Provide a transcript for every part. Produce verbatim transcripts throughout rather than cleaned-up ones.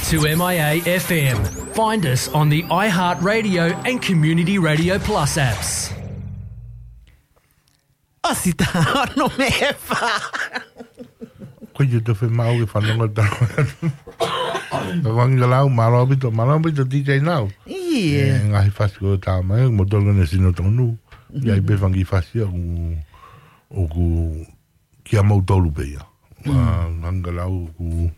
to M I A F M. Find us on the iHeartRadio and Community Radio Plus apps. ʻOsi tā ono mei fā. Ko ia te fai maʻu ke fanongo tau. Ka wangi ka lau, mālō ʻaupito, mālō ʻaupito D J Nau. Ia. E, ngaahi fasi ko tā mai, mo tolu ne sino tonu. Ia i pe fangi fasi ʻoku, ʻoku kia mau tolu pe ia. Mm. Ā, nganga lau ʻoku,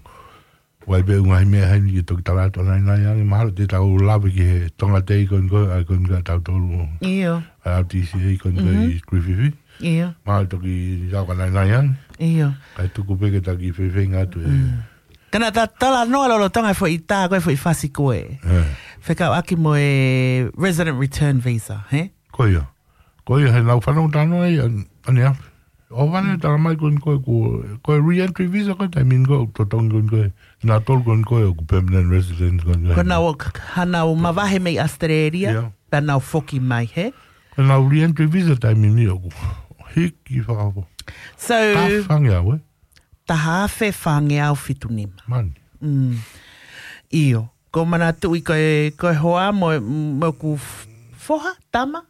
ʻoku ʻi ai pē ngaahi meʻa ʻe niʻihi ke toki tala atu ʻa naʻinaʻi ange, mahalo te tau lave ki he Tonga Day ko eni ko ē, ʻa ē ko eni ko ē ʻa tautolu. ʻIo. ʻA e L T C A ko eni ko ē ʻi Griffith. ʻIo. Mahalo toki tau ka naʻinaʻi ange. ʻIo. Kae tuku pē ke taki fefeinga atu e. Mm. Ka naʻa ta talanoa lolotonga e foʻi tā ko ē foʻi fasi ko ē. ʻE. Fekauʻaki mo e resident return visa, hē? Ko ia. Ko ia he naʻa ku fanongo talanoa ai ʻa, ʻaneafi. ʻO vane tala mai ko eni ko ē ko, ko e re-entry visa ko e taimi ni ko ē, totongi ko eni ko ē. Naʻa tolu ko eni ko ē ʻoku permanent resident ko eni ko ē. Ko ʻenau k-, k-, ʻenau mavahe mei Australia, ʻIo. Pea nau foki mai, hē? Ko ʻenau re-entry visa taimi ni ʻoku hiki fakafo. So, Taha fāngeau, ē? Taha afe fāngeau fitu nima. Mani. Mm. ʻIo. Ko manatuʻi ko e, ko e hoa mo, mo ʻeku f-, foha, tama.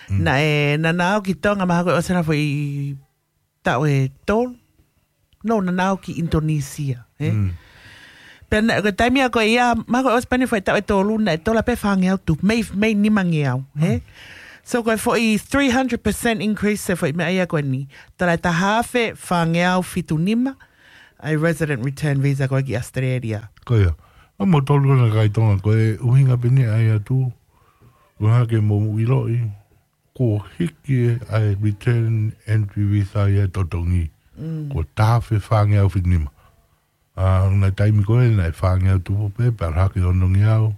Mm. Naʻe, naʻa nau ō ki Tonga mahalo ko e ʻosi ʻena foʻi taʻu ʻe tolu. No, naʻa nau ō ki Indonesia, ē? Mm. Pea naʻe, ko e taimi ia ko ia, mahalo ko e ʻosi pē ʻena foʻi taʻu ʻe tolu, naʻe tola pē fāngeau tupu, mei, mei nimangeau, ē? Mm. So ko e foʻi three hundred percent increase e foʻi meʻa ia ko eni. Tola e taha afe fāngeau fitu nima, ʻa e resident return visa ko ē ki Australia. Ko ia. ʻA mo tolu ko ena kakai Tonga ko e ʻuhinga pē ʻeni ʻai atu. ʻUhinga ke mou ʻiloʻi. Ko e hiki ʻa e return entry visa ia ʻe totongi. Mm. Ko e taha afe fāngeau fitu nima. ʻA, naʻe taimi ko ē naʻe fāngeau tupu pē, pea ʻalu hake onongeau.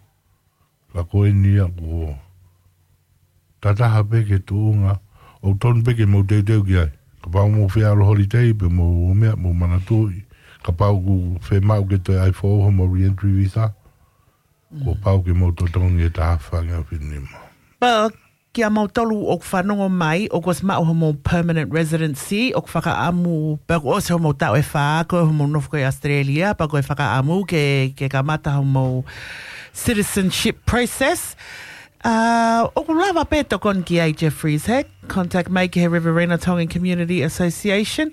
Ka ko eni ia ko e tataha pē ki he tuʻunga, ʻoku tonu pē ke mou teuteu ki ai. Kapau mou fie ʻalu holiday, pe mou meʻa, mou manatuʻi. Kapau ʻoku fiemaʻu ke toe ʻai foʻou hoʻomou re-entry visa. Kuo Mm. pau ke mou totongi e taha afe fāngeau fitu nima. Pea kia moutolu ʻoku fanongo mai, ʻoku ʻosi maʻu hoʻomou permanent residency, ʻoku fakaʻamu, pea kuo ʻosi hoʻomou taʻu ʻe fā, ko hoʻomou nofo ko ē ʻi Australia, pea ko e fakaʻamu ke, ke kamata hoʻomou citizenship process. Ā, ʻoku lava pē tokoni ki ai Jeffreys, hē? Contact mai ki he Riverina Tongan Community Association.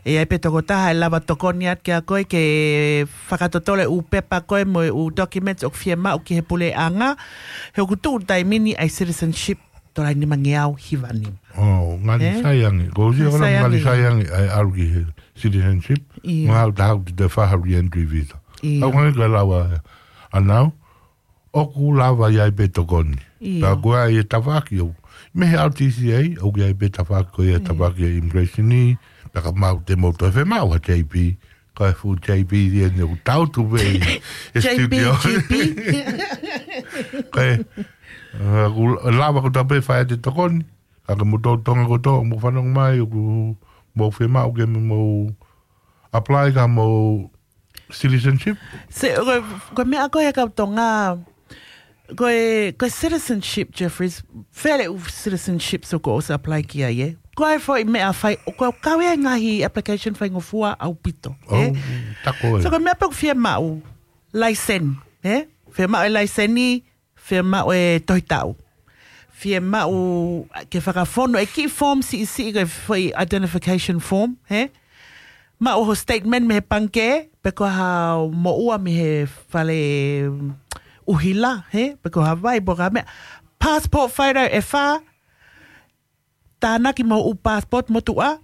ʻE ʻi ai pē tokotaha ʻe lava tokoni atu kia koe ke fakatotolo e ʻū pepa ko ē mo e ʻū documents ʻoku fiemaʻu ki he puleʻanga. He ʻoku tuʻu taimi ni ʻa e citizenship tola ʻe nimangeau hiva nima. ʻO, ngali Ē? sai ange. Ko e ʻuhinga Ngali ko e sai ngali ange. sai ange, ʻai ʻalu ki he citizenship. ʻIo. Mahalo taha ʻoku te fai ha re-entry visa. ʻIo. ʻOku ngali ka lava ʻanau, ʻoku lava ʻi ai pē tokoni. ʻIo. Pea ko e ʻai e tafaʻaki ʻoku. Mei he R T C A, ʻoku ʻi ai pē tafaʻaki ko ia Mm. tafaʻaki e immigration ni, pea ka mau te mau toe fiemaʻu ha J P, Ko e fuʻu J P ʻi heni ʻoku tau tuʻu pē ʻi he J P, studio. G P. Ko e, ā, ʻoku lava ko ē pē fai ʻa e tokoni. Ka ke mou tō Tonga kotoa, mou fanongo mai, ʻoku mou fiemaʻu ke mou apply ki hoʻomou citizenship. Se, ko e, ko e meʻa ko ē he kau Tonga, Ko e, ko e citizenship, Jeffreys, fele ʻū citizenship so ko ʻosi apply ki ai, ē. Ko e foʻi meʻa fai, ʻoku kau ia ʻi he ngaahi application faingofua ʻaupito, ē. ʻOu, tā ko ē. So ko e meʻa pē ʻoku fiemaʻu, laiseni, ē. Fiemaʻu e laiseni, fiemaʻu e tohi taʻu. Fiemaʻu ke fakafonu e kiʻi form siʻisiʻi ko e foʻi identification form, ē. Maʻu ho statement mei he pangikē, pe ko ha moʻua mei he fale ʻuhila, hē, pe ko ha vai, pe ko ha meʻa. Passport photo ʻe fā, tānaki mo e ʻū passport motuʻa,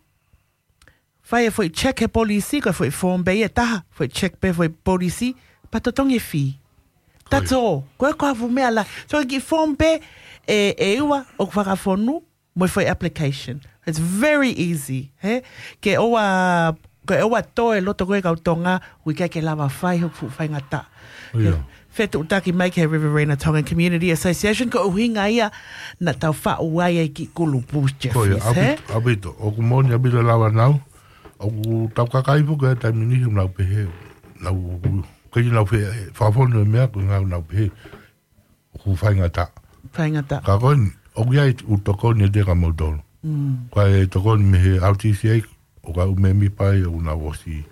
fai e foʻi check he polisi, ko e foʻi form pē ia ʻe taha, foʻi check pē foʻi polisi, pea totongi e fee. That's all. Ko e ko ha fuʻu meʻa lahi. So, kiʻi form pē ʻe, ʻe ua ʻoku fakafonu, mo e foʻi application. It's very easy, hē? Ke ʻoua, ke ʻoua toe loto ko ē kau Tonga, ʻoku ʻikai ke lava fai hoku fuʻu faingataʻa. ʻIo. Ke fetuʻutaki mai ki he Riverina Tongan Community Association, ko e ʻuhinga ia naʻa tau faʻu ai e kiʻi kulupu, Jeffreys, hē? ʻAupito, ʻaupito. ʻOku moʻoni ʻaupito lava ʻanau. ʻOku tau kakai foki he taimi ni ʻoku nau pehē. Nau, ko ʻenau fie, fakafonu e meʻa ko e ʻuhinga ʻoku nau pehē. ʻOku faingataʻa. Faingataʻa. Ka ko eni, ʻoku ʻi ai e ʻū tokoni ʻe taha kia moutolu. Mm. Ko e tokoni mei he R T C A, ʻoku ʻi ai e ʻū mēmipa ia ʻoku nau ʻosi,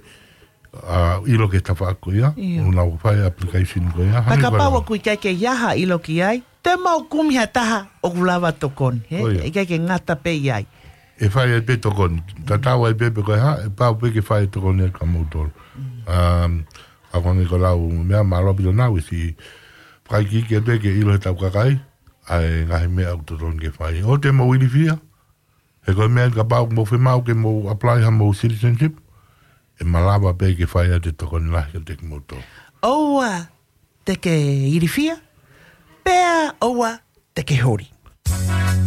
ʻa ʻilo ki he tafaʻaki ko ia, ʻio, ʻoku nau fai application ko ia. Hangē ko e kapau ʻoku ʻikai ke ʻi ai ha ʻilo ki ai, te mau kumi ha taha ʻoku lava tokoni, he? ʻIo. ʻIkai ke ngata pē ʻi ai. ʻE fai ai pē tokoni. Tatau ai pē pe ko e hā, ʻe pau pē ke fai tokoni ʻa kimoutolu. Um, ʻa ko e hangē ko e lau meʻa, mālō ʻaupito Naui, siʻi fakaikiiki pē ke ʻilo ʻe he tau kakai ʻa e ngaahi meʻa ʻoku totonu ke fai. ʻOua te mou ilifia, he ko e meʻa kapau ʻoku mou fiemaʻu ke mou apply haʻamou citizenship, ʻe malava pē ke fai ʻa e tokoni lahi kiate kimoutolu. ʻOua te ke ilifia, pea ʻoua te ke holi.